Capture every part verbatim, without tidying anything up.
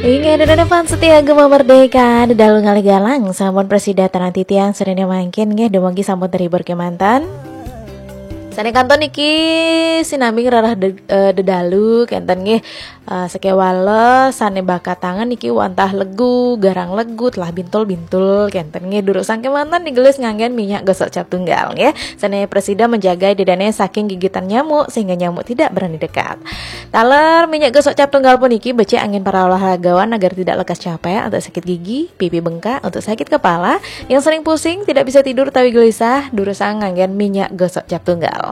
Inggih, ida dané fans setia Gema Merdeka, dedalu ngalih galang, sampun prasida titiang sadaya mangkin nggih, dumugi sampun terhibur kémanten. Sané kantun niki sinambi ngrereh de-, eh, dedalu kénten nggih. Eh, sakéwala sané bakatangan niki wantah legu, garang legu, telah bintul-bintul kénten nggih, durusang kémanten digelis nganggén minyak gosok cap tunggal nggih. Sané prasida menjaga ida dané saking gigitan nyamuk sehingga nyamuk tidak berani dekat. Taler minyak gosok cap tunggal puniki becik anggén para olahragawan agar tidak lekas capek untuk sakit gigi, pipi bengkak, untuk sakit kepala, yang sering pusing, tidak bisa tidur utawi gelisah, durusang nganggén minyak gosok cap tunggal.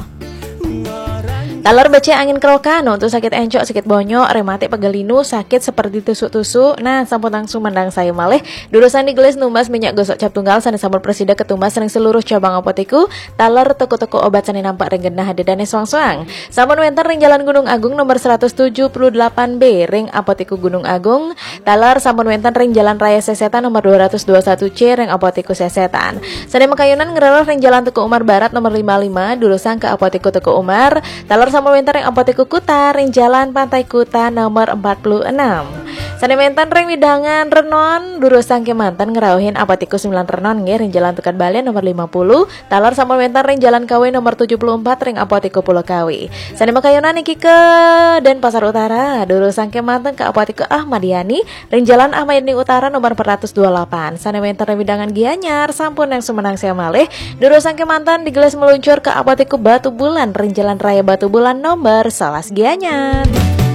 Taler becik anggén kerokan untuk sakit encok, sakit bonyok, rematik, pegal linu, sakit seperti tusuk-tusuk. Nah, sampun langsung mandang saya malih. Durusang digelis numbas minyak gosok cap tunggal sané sampun prasida katumbas ring seluruh cabang apotiku, taler toko-toko obat sané nampek ring genah ida dané soang-soang. Sampun wénten ring Jalan Gunung Agung nomor seratus tujuh puluh delapan B ring Apotiku Gunung Agung. Taler sampun wénten ring Jalan Raya Sesetan nomor dua ratus dua satu C ring Apotiku Sesetan. Sané makayunan ngrereh ring Jalan Teuku Umar Barat nomor lima lima, durusang ka Apotiku Teuku Umar. Taler sampun wénten ring Apotiku Kuta ring Jalan Pantai Kuta nomor empat puluh enam. Sané wénten ring wewidangan Renon, durusang kémanten ngrauhin Apotiku Sembilan Renon nggih, ring Jalan Tukad Balian nomor lima puluh. Taler sampun wénten ring Jalan Kawi nomor tujuh puluh empat ring Apotiku Pulau Kawi. Sané makayunan niki ka Denpasar Utara, durusang kémanten ka Apotiku Ahmad Yani ring Jalan Ahmad Yani Utara nomor empat ratus dua puluh delapan. Sané wénten ring wewidangan Gianyar, sampun langsung mandang saya malih, durusang kémanten digelis meluncur ka Apotiku Batubulan ring Jalan Raya Batubulan nomor sebelas Gianyar.